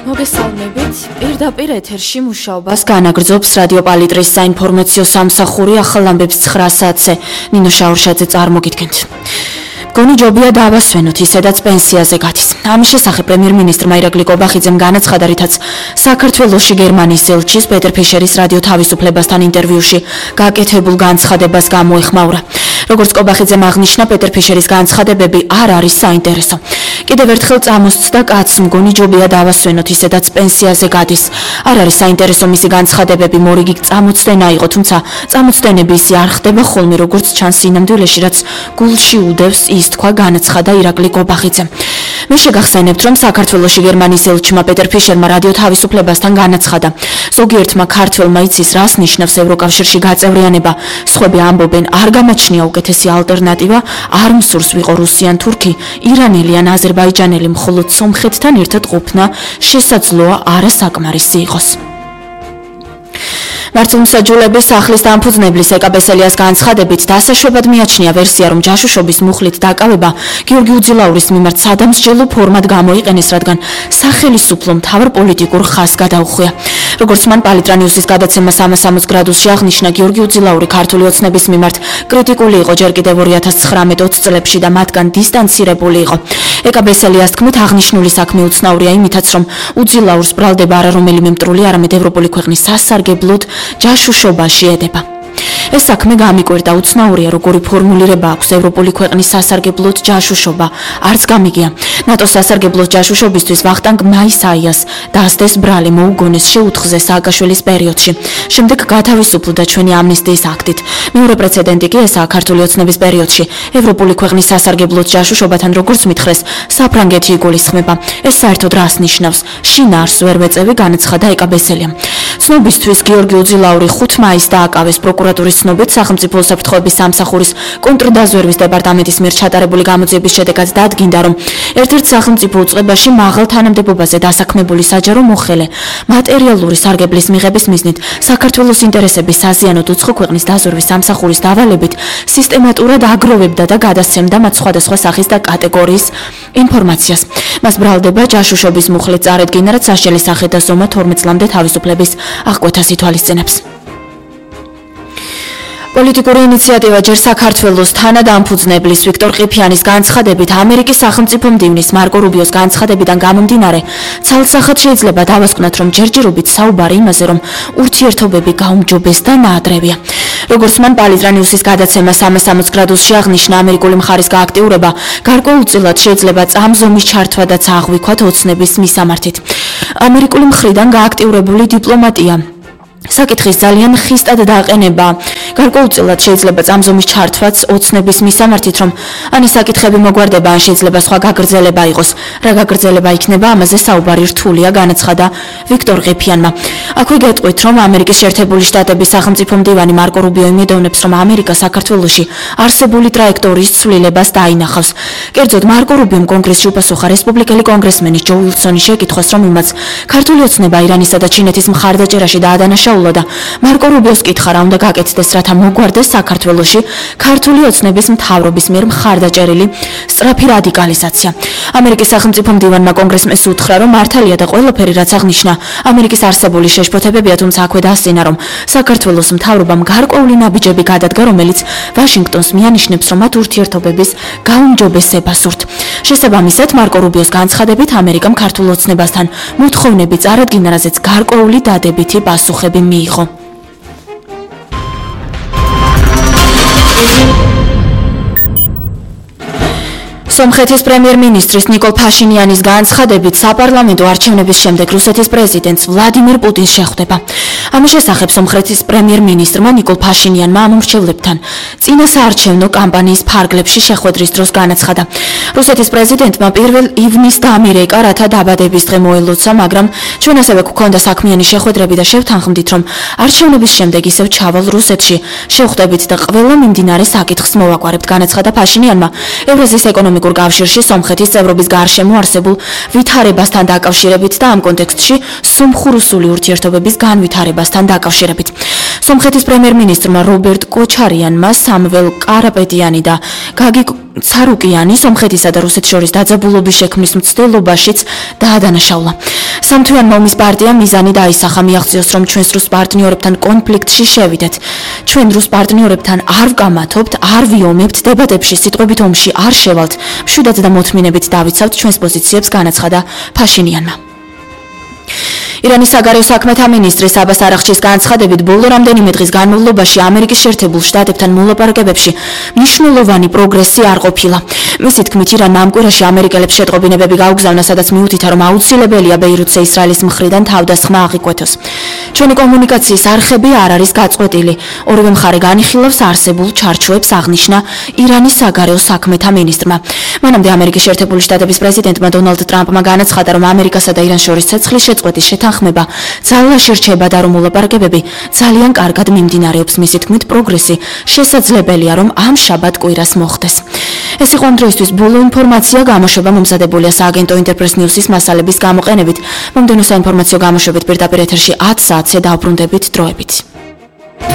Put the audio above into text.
მოგესალმებით. პირდაპირ ეთერში მუშაობას განაგრძობს რადიო პალიტრის საინფორმაციო სამსახური ახალ ამბებს 9 საათზე. ნინო შაურშაძე წარმოგიდგენთ. გონი ჯობია დავასვენოთ ისედაც პენსიაზე გადის. ამის შესახებ პრემიერ-მინისტრმა ირაკლი კობახიძემ განაცხადა, რითაც საქართველოში გერმანიის ელჩის პეტერ ფიშერის რადიო თავისუფლებასთან ინტერვიუში გაკეთებულ განცხადებას გამოეხმაურა. როგორც კობახიძემ აღნიშნა, პეტერ ფიშერის განცხადებები არ არის საინტერესო. კიდევ ერთხელ წამოსცდა კაცს, მგონი ჯობია დავასვენოთ ისედაც პენსიაზე გადის. არ არის საინტერესო მისი განცხადებები, მორიგი წამოწდენა იყო, თუმცა წამოწდენები ისე არ ხდება ხოლმე, როგორც ჩანს სინამდვილეში, რაც გულში უდევს, ის თქვა განაცხადა ირაკლი კობახიძემ. მე შეგახსენებთ, რომ საქართველოში გერმანიის ელჩმა პეტერ ფიშერმა რადიო თავისუფლებასთან განაცხადა. ზოგიერთმა ქართველმა იცის, რას ნიშნავს ევროკავშირში გაწევრიანება. სხვები ამბობენ, არ გამოჩნია უკეთესი ალტერნატივა, არ მსურს ვიყო რუსი ან თურქი, ირანელი ან აზერბაიჯანელი, მხოლოდ სომხეთთან ერთად ყოფნა შესაძლოა არასაკმარისი იყოს. მართლმსაჯულების სახლის დამფუძნებლის ეკა ბესელიას განცხადებით დასაშვებად მიაჩნია ვერსია, რომ ჯაშუშობის მუხლით დაკავება გიორგი უძილაურის მიმართ სადამსჯელო ფორმად გამოიყენეს, რადგან სახელისუფლო მთავარ პოლიტიკურ ხაზს გადაუხვია. როგორც მან პალიტრანიუსის გადაცემა 360 გრადუსში აღნიშნა, გიორგი უძილაური ქართული ოცნების მიმართ კრიტიკული იყო ჯერ კიდევ 2019-20 წლებში და მათგან დისტანცირებული იყო. ეკა ბესელიას თქმით, აღნიშნული საქმე უცნაურია იმითაც, რომ უძილაურს ბრალდება არა რომელიმე მტრული, არამედ ევროპული ქვეყნის სასარგებლოდ ჯაშუშობაში ედება. ეს საქმე გამიკვირდა, უცნაურია როგორი ფორმულირება აქვს ევროპული ქვეყნის სასარგებლოდ ჯაშუშობა, არც გამიგია. ნატოს სასარგებლოდ ჯაშუშობისთვის ვახტანგ მაისაიას დასდეს ბრალი მოუგონეს შეუთხზეს სააკაშვილის პერიოდში. შემდეგ გათავისუფლდა ჩვენი ამნისტიის აქტით. მეორე პრეცედენტი კი ესაა ქართული ოცნების პერიოდში. ევროპული ქვეყნის სასარგებლოდ ჯაშუშობათან როგორც მითხრეს, საფრანგეთი იგულისხმება. ეს საერთოდ რას ნიშნავს? შინაარს ვერ ვეწევი, განაცხადა ეკა ბესელიამ. ცნობისთვის გიორგი უძილაური 5 მაისს დააკავეს პროკურატურის ცნობით სახელმწიფო უსაფრთხოების სამსახურის კონტრდაზვერვის დეპარტამენტის მიერ ჩატარებული გამოძიების შედეგად დადგინდა, რომ ერთ-ერთ სახელმწიფო უწყებაში მაღალ თანამდებობაზე დასაქმებული საჯარო მოხელე მატერიალური სარგებლის მიღების მიზნით საქართველოს ინტერესების საზიანოდ უცხო ქვეყნის დაზვერვის სამსახურის დავალებით სისტემატურად აგროვებდა და გადასცემდა მათ სხვადასხვა სახის და კატეგორიის ინფორმაციას. მას ბრალდება ჯაშუშობის მუხლით წარედგინა, რაც სასჯელი სახე და ზომა 12 წლამდე თავისუფლების აღკვეთას ითვალისწინებს. პოლიტიკური ინიციატივა ჯერ საქართველოს თანადამფუძნებლის ვიქტორ ყიფიანის განცხადებით ამერიკის სახელმწიფო მდივნის მარკო რუბიოს განცხადებიდან გამომდინარე ცალსახად შეიძლება დავასკვნათ, რომ ჯერჯერობით საუბარი იმაზე, რომ ურთიერთობები გაუმჯობეს და ნაადრევია. როგორც მან პალიტრანიუსის გადაცემა 360 გრადუსში აღნიშნა, ამერიკული მხარის გააქტიურება გარკვეულწილად შეიძლება წამზომის ჩართვა და წაღვიქვათ ოცნების მისამართით. ამერიკული მხრიდან გააქტიურებული დიპლომატია საკითხის ძალიან ხისტად დაყენება გარკვეულწილად შეიძლება წამზომის ჩართვაც ოცნების მისამართით, რომ ან ეს საკითხები მოგვარდება, ან შეიძლება სხვა გაგრძელება იყოს. რა გაგრძელება იქნება, ამაზე საუბარი რთულია, განაცხადა ვიქტორ ყიფიანმა. აქვე გეტყვით, რომ ამერიკის შეერთებული შტატების სახელმწიფო მდივანი მარკო რუბიო იმედოვნებს, რომ ამერიკა საქართველოში არსებული ტრაექტორიის ცვლილებას დაინახავს. კერძოდ, მარკო რუბიომ კონგრესში უპასუხა რესპუბლიკელი კონგრესმენის ჯო უილსონის შეკითხვას, რომ იმაც ქართული ოცნება ირანისა და ჩინეთის მხარდაჭერაში დაადანაშაულა და მარკო რუბიოს კითხა, რა უნდა გაკეთდეს, რათა მოგვარდეს საქართველოში ქართული ოცნების მთავრობის მიერ მხარდაჭერილი სწრაფი რადიკალიზაცია. ამერიკის სახელმწიფო მდივანმა კონგრესმენს უთხრა, რომ მართალია და ყველაფერი, რაც აღნიშნა, ამერიკის არსებული შეშფოთებებია, თუმცა აქვე დასწინა, რომ საქართველოს მთავრობამ გარკვეული ნაბიჯები გადადგა, რომელიც ვაშინგტონს მიანიშნებს, რომ მათ ურთიერთობების გაუმჯობესება სურთ. შესაბამისად, მარკო რუბიოს განცხადებით, ამერიკამ ქართულ ოცნებასთან მოთხოვნები წარადგინა, რაზეც გარკვეული დადებითი პასუხები მიიღო. სომხეთის პრემიერ-მინისტრის ნიკოლ ფაშინიანის განცხადებით საპარლამენტო არჩევნების შემდეგ რუსეთის პრეზიდენტს ვლადიმირ პუტინს შეხვდება. ამის შესახებ სომხეთის პრემიერ-მინისტრმა ნიკოლ ფაშინიანმა ამომრჩევლებთან წინა საარჩევნო კამპანიის ფარგლებში შეხვედრის დროს განაცხადა. რუსეთის პრეზიდენტმა 1 ივნისს დამირეკა, რათა დაბადების დღე მოელოცა, მაგრამ ჩვენ ასევე გვქონდა საქმიანი შეხვედრები და შევთანხმდით, რომ არჩევნების შემდეგ ისევ ჩავალ რუსეთში, შევხვდებით და ყველა მიმდინარე საკითხს მოვაგვარებთ, განაცხადა ფაშინიანმა. ევრაზიის ეკონომიკურ კავშირში სომხეთის წევრობის გარშემო არსებულ ვითარებასთან დაკავშირებით და ამ კონტექსტში სომხურ-რუსული ურთიერთობების განვითარებასთან დაკავშირებით. სომხეთის პრემიერ-მინისტრმა რობერტ კოჩარიანმა სამվել კარაპეტიანი და გაგი ცარუკიანი სომხეთისა და რუსეთის შორის დაძაბულობის შექმნის მცდელობაშიც დაადანაშაულა. სამთვიანი ომის პარტიამ მიზანი დაისახა მიაღწიოს, რომ ჩვენს რუს პარტნიორებთან კონფლიქტში შევიდეთ. ჩვენ რუს პარტნიორებთან არ ვკამათობთ, არ ვიომებთ, დებატებში სიტყვებით ომში არ შევალთ, მშვიდად და მოთმინებით დავიცავთ ჩვენს პოზიციებს, განაცხადა ფაშინიანმა. ირანის საგარეო საქმეთა მინისტრის აბას არაღჩის განცხადებით, ბოლო რამდენიმე დღის განმავლობაში ამერიკის შეერთებულ შტატებთან მოლაპარაკებებში მნიშვნელოვანი პროგრესი არ ყოფილა. მისი თქმით, ირანმა ამ კვირაში ამერიკელებს შეტყობინებები გაუგზავნა, სადაც მიუთითა, რომ აუცილებელია ბეირუთზე ისრაელის მხრიდან თავდასხმა აღიკვეთოს. ჩვენი კომუნიკაციის არხები არ არის გაწყვეტილი. ორივე მხარე განიხილავს არსებულ ჩარჩოებს, აღნიშნა ირანის საგარეო საქმეთა მინისტრმა. მანამდე ამერიკის შეერთებული შტატების პრეზიდენტმა დონალდ ტრამპმა განაცხადა, რომ ამერიკასა და ირანს შორის ცეცხლის შეწყვეტის შეთანხმება ძალაში რჩება და რომ მოლაპარაკებები ძალიან კარგად მიმდინარეობს. მისი თქმით, პროგრესი შესაძლებელია, რომ ამ შაბათ კვირას მოხდეს. ეს იყო ამ დროისთვის ბოლო ინფორმაცია, გამოშვება მომზადებულია სააგენტო ინტერპრეს ნიუსის მასალების გამოყენებით. მომდევნო საინფორმაციო გამოშვებით პირდაპირ ეთერში 10 საათზე დავბრუნდებით დროებით.